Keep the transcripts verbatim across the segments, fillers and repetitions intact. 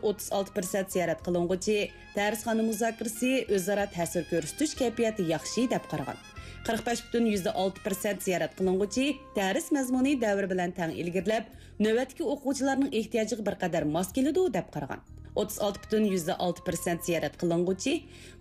ئوتتۇز ئالتە پىرسەنت زىيارەت قىلىنغۇچى دەرسخانا مۇزاكىرىسى، ئۆزئارا تەسىر كۆرسىتىش كەيپىياتى ياخشى دەپ قارىغان. قىرىق بەش پۈتۈن يۈزدە ئالتە پىرسەنت زىيارەت قىلىنغۇچى دەرس مەزمۇنى دەۋر بىلەن تەڭ ئىلگىرىلەپ، نۆۋەتتىكى ئوقۇغۇچىلارنىڭ ئېھتىياجىغا بىر قەدەر ماس كېلىدۇ دەپ قارىغان. ئوتتۇز ئالتە پۈتۈن يۈزدە ئالتە پىرسەنت زىيارەت قىلىنغۇچى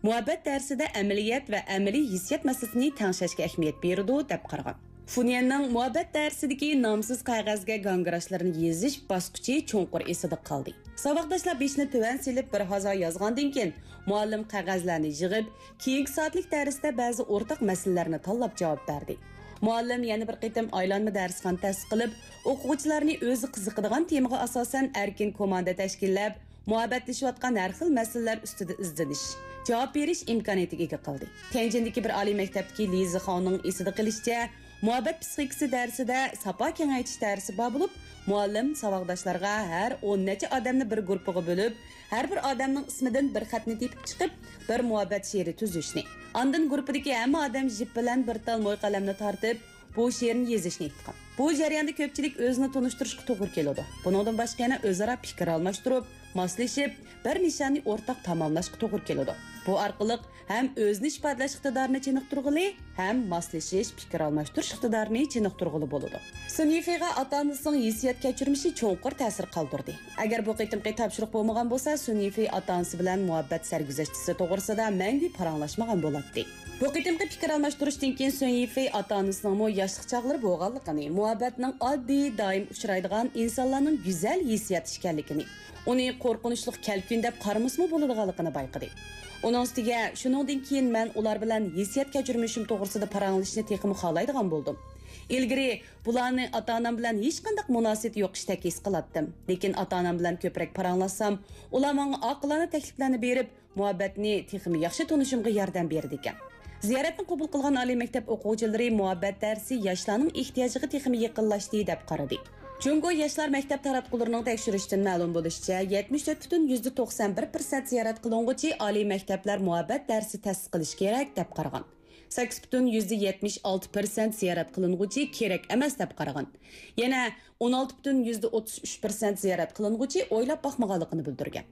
مۇھەببەت دەرسىدە ئەمەلىيەت ۋە ئەمەلىي ھېسسىيات مەسىلىسىنى تەڭشەشكە ئەھمىيەت بېرىدۇ دەپ قارىغان. فۇنيەننىڭ مۇھەببەت دەرسىدىكى نامسىز قەغەزگە گاڭگىراشلىرىنى يېزىش باسقۇچى چوڭقۇر ئېسىدە قالدى. ساۋاقداشلار بېشىنى تۆۋەن سېلىپ بىر ھازا يازغاندىن كېيىن، مۇئەللىم قەغەزلەرنى يىغىپ، كېيىنكى سائەتلىك دەرستە بەزى ئورتاق مەسىلىلەرنى تاللاپ جاۋاب بەردى. مۇئەللىم يەنە بىر قېتىم ئايلانما دەرسخانا تەسىس قىلىپ، ئوقۇغۇچىلارنى ئۆزى قىزىقىدىغان تېمىغا ئاساسەن ئەركىن كوماندا تەشكىللەپ، مۇھەببەتلىشىۋاتقان ھەر خىل مەسىلىلەر ئۈستىدە ئىزدىنىش، جاۋاب بېرىش ئىمكانىيىتىگە ئىگە قىلدى. تيەنجىندىكى بىر ئالىي مەكتەپتىكى لى زىخاۋنىڭ ئېسىدە قېلىشىچە، مۇھەببەت پسىخىكىسى دەرسىدە ساپا كېڭەيتىش دەرسى بار بولۇپ، مۇئەللىم ساۋاقداشلارغا ھەر ئون نەچچە ئادەمنى بىر گۇرۇپپىغا بۆلۈپ، ھەر بىر ئادەمنىڭ ئىسمىدىن بىر خەتنى تېپىپ چىقىپ، بىر مۇھەببەت شېئىرى تۈزۈشنى، ئاندىن گۇرۇپپىدىكى ھەممە ئادەم ژىپ بىلەن بىر تال موي قەلەمنى تارتىپ، بۇ شېئىرنى يېزىشنى ئېيتقان. بۇ جەرياندا كۆپچىلىك ئۆزىنى تونۇشتۇرۇشقا توغرا كېلىدۇ. بۇنىڭدىن باشقا يەنە ئۆزئارا پىكىر ئالماشتۇرۇپ، ماسلىشىپ، بىر نىشاننى ئورتاق تاماملاشقا توغرا كېلىدۇ. بۇ ئارقىلىق ھەم ئۆزىنى ئىپادىلەش ئىقتىدارىنى چېنىقتۇرغىلى، ھەم ماسلىشىش، پىكىر ئالماشتۇرۇش ئىقتىدارىنى چېنىقتۇرغىلى بولىدۇ. سۈن يىفېيغا ئاتا-ئانىسىنىڭ ھېسسىيات كەچۈرمىشى چوڭقۇر تەسىر قالدۇردى. ئەگەر بۇ قېتىمقى تاپشۇرۇق بولمىغان بولسا، سۈن يىفېي ئاتا-ئانىسى بىلەن مۇھەببەت سەرگۈزەشتىسى توغرىسىدا مەڭگۈ پاراڭلاشمىغان بولاتتى. بۇ قېتىمقى پىكىر ئالماشتۇرۇشتىن كېيىن سۈن يىفېي ئاتا-ئانىسىنىڭمۇ ياشلىق چاغلىرى بولغانلىقىنى، مۇھەببەتنىڭ ئاددىي، دائىم ئۇچرايدىغان ئىنسانلارنىڭ گۈزەل ھېسسىياتى ئىكەنلىكىنى، ئۇنى قورقۇنچلۇق كەلكۈن دەپ قارىمىسىمۇ بولىدىغانلىقىنى بايقىدى. ئۇنىڭ ئۈستىگە، شۇنىڭدىن كېيىن مەن ئۇلار بىلەن ھېسسىيات كەچۈرمىشىم توغرىسىدا پاراڭلىشىشنى تېخىمۇ خالايدىغان بولدۇم. ئىلگىرى بۇلارنى ئاتا-ئانام بىلەن ھېچقانداق مۇناسىۋىتى يوق ئىشتەك ھېس قىلاتتىم. لېكىن ئاتا-ئانام بىلەن كۆپرەك پاراڭلاشسام، ئۇلار ماڭا ئاقىلانە تەكلىپلەرنى بېرىپ، مۇھەببەتنى تېخىمۇ ياخشى تونۇشۇمغا ياردەم بېرىدىكەن. زىيارەتنى قوبۇل قىلغان ئالىي مەكتەپ ئوقۇغۇچىلىرى مۇھەببەت دەرسى ياشلارنىڭ ئېھتىياجىغا تېخىمۇ يېقىنلاشتى دەپ قارىدى. جۇڭگو ياشلار مەكتەپ تاراتقۇلىرىنىڭ تەكشۈرۈشىدىن مەلۇم بولۇشىچە، يەتمىش تۆت پۈتۈن يۈزدە توقسان بىر پىرسەنت زىيارەت قىلىنغۇچى ئالىي مەكتەپلەر مۇھەببەت دەرسى تەسىس قىلىش كېرەك دەپ قارىغان. سەككىز پۈتۈن يۈزدە يەتمىش ئالتە پىرسەنت زىيارەت قىلىنغۇچى كېرەك ئەمەس دەپ قارىغان. يەنە ئون ئالتە پۈتۈن يۈزدە ئوتتۇز ئۈچ پىرسەنت زىيارەت قىلىنغۇچى ئويلاپ باقمىغانلىقىنى بىلدۈرگەن.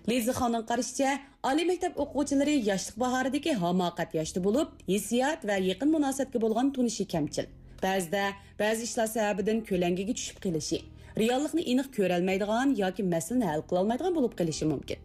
لى زىخاۋنىڭ قارىشىچە، ئالىي مەكتەپ ئوقۇغۇچىلىرى ياشلىق باھارىدىكى ھاماقەت ياشتا بولۇپ، ھېسسىيات ۋە يېقىن مۇناسىۋەتكە بولغان تونۇشى كەمچىل. بەزىدە بەزى ئىشلار سەۋەبىدىن كۆلەڭگىگە چۈشۈپ قېلىشى، رېئاللىقنى ئېنىق كۆرەلمەيدىغان ياكى مەسىلىنى ھەل قىلالمايدىغان بولۇپ قېلىشى مۇمكىن.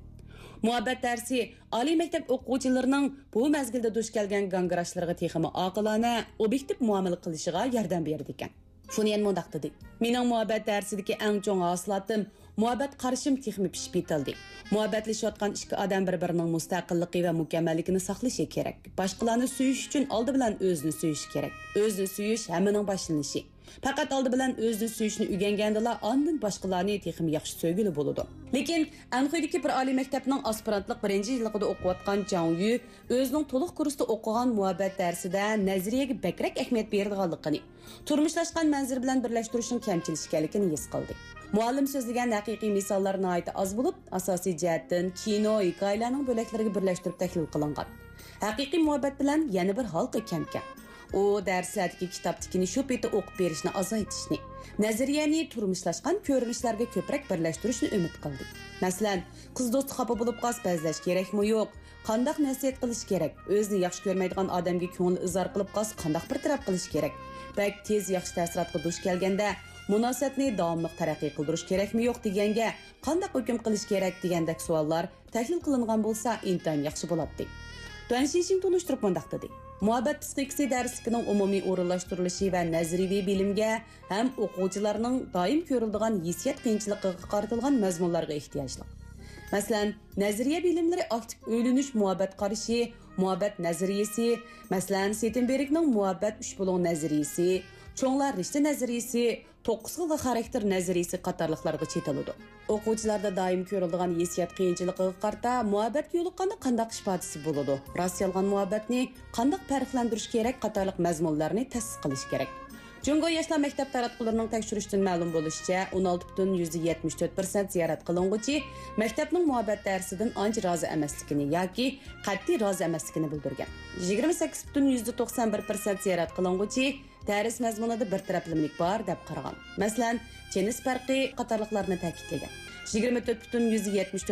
مۇھەببەت دەرسى ئالىي مەكتەپ ئوقۇغۇچىلىرىنىڭ بۇ مەزگىلدە دۇچ كەلگەن گاڭگىراشلىرىغا تېخىمۇ ئاقىلانە، ئوبيېكتىپ مۇئامىلە قىلىشىغا ياردەم بېرىدىكەن. فۇنيەن مۇنداق دېدى، مېنىڭ مۇھەببەت دەرسىدىكى ئەڭ چوڭ ھاسىلاتىم، مۇھەببەت قارىشىم تېخىمۇ پىشىپ يېتىلدى. مۇھەببەتلىشىۋاتقان ئىككى ئادەم بىر-بىرىنىڭ مۇستەقىللىقى ۋە مۇكەممەللىكىنى ساقلىشى كېرەك. باشقىلارنى سۆيۈش ئۈچۈن ئالدى بىلەن ئۆزىنى سۆيۈشى كېرەك. ئۆزىنى سۆيۈش ھەممىنىڭ باشلىنىشى. پەقەت ئالدى بىلەن ئۆزىنى سۆيۈشنى ئۆگەنگەندىلا، ئاندىن باشقىلارنى تېخىمۇ ياخشى سۆيگىلى بولىدۇ. لېكىن ئەنخۇيدىكى بىر ئالىي مەكتەپنىڭ ئاسپىرانتلىق بىرىنچى يىللىقىدا ئوقۇۋاتقان جاڭ يۈ ئۆزىنىڭ تولۇق كۇرستا ئوقۇغان مۇھەببەت دەرسىدە نەزەرىيەگە بەكرەك ئەھمىيەت بېرىدىغانلىقىنى، تۇرمۇشلاشقان مەنزىرە بىلەن بىرلەشتۈرۈشنىڭ كەمچىل ئىكەنلىكىنى ھېس قىلدى. مۇئەللىم سۆزلىگەن ھەقىقىي مىساللار ناھايىتى ئاز بولۇپ، ئاساسىي جەھەتتىن كىنو، ھېكايىلەرنىڭ بۆلەكلىرىگە بىرلەشتۈرۈپ تەھلىل قىلىنغان. ھەقىقىي مۇھەببەت بىلەن يەنە بىر ھالقا كەمكەن. ئۇ دەرسلەردىكى كىتابتىكىنى شۇ پېتى ئوقۇپ بېرىشنى ئازايتىشنى، نەزەرىيەنى تۇرمۇشلاشقان كۆرۈنۈشلەرگە كۆپرەك بىرلەشتۈرۈشنى ئۈمىد قىلدى. مەسىلەن، قىز دوستى خاپا بولۇپ قالسا بەزلەش كېرەكمۇ يوق؟ قانداق نەسىھەت قىلىش كېرەك؟ ئۆزىنى ياخشى كۆرمەيدىغان ئادەمگە كۆڭۈل ئىزھار قىلىپ قالسا قانداق بىر تەرەپ قىلىش كېرەك؟ بەك تېز ياخشى تەسىراتقا دۇچ كەلگەندە، مۇناسىۋەتنى داۋاملىق تەرەققىي قىلدۇرۇش كېرەكمۇ يوق دېگەنگە قانداق ھۆكۈم قىلىش كېرەك دېگەندەك سوئاللار تەھلىل قىلىنغان بولسا ئىنتايىن ياخشى بولاتتى. دۇەن شىنشىڭ تونۇشتۇرۇپ مۇنداق دېدى، مۇھەببەت پسىخىكىسى دەرسلىكىنىڭ ئومۇمىي ئورۇنلاشتۇرۇلۇشى ۋە نەزەرىيىۋى بىلىمگە ھەم ئوقۇغۇچىلارنىڭ دائىم كۆرۈلىدىغان ھېسسىيات قىيىنچىلىقىغا قارىتىلغان مەزمۇنلارغا ئېھتىياجلىق. مەسىلەن، نەزەرىيە بىلىملىرى ئاكتىپ ئۆيلىنىش مۇھەببەت قارىشى، مۇھەببەت نەزەرىيىسى، مەسىلەن، سېتېنبېرگنىڭ مۇھەببەت ئۈچ بۇلۇڭ نەزەرىيىسى، چوڭلار رىشتە نەزەرىيىسى، توققۇز خىل خاراكتېر نەزەرىيىسى قاتارلىقلارغا چېتىلىدۇ. ئوقۇغۇچىلاردا دائىم كۆرۈلىدىغان ھېسسىيات قىيىنچىلىقىغا قارىتا مۇھەببەتكە يولۇققاندا قانداق ئىپادىسى بولىدۇ؟ راست-يالغان مۇھەببەتنى قانداق پەرقلەندۈرۈش كېرەك؟ قاتارلىق مەزمۇنلارنى تەسىس قىلىش كېرەك. جۇڭگو ياشلار مەكتەپ تاراتقۇلىرىنىڭ تەكشۈرۈشىدىن مەلۇم بولۇشىچە، ئون ئالتە پۈتۈن يۈزدە يەتمىش تۆت پىرسەنت زىيارەت قىلىنغۇچى مەكتەپنىڭ مۇھەببەت دەرسىدىن ئانچە رازى ئەمەسلىكىنى ياكى قەتئىي رازى ئەمەسلىكىنى بىلدۈرگەن. يىگىرمە سەككىز پۈتۈن يۈزدە توقسان بىر پىرسەنت زىيارەت قىلىنغۇچى دەرس مەزمۇنىدا بىر تەرەپلىمىلىك بار دەپ قارىغان. مەسىلەن، جىنس پەرقى قاتارلىقلارنى تەكىتلىگەن. يىگىرمە تۆت پۈتۈن يۈزدە يەتمىش تۆت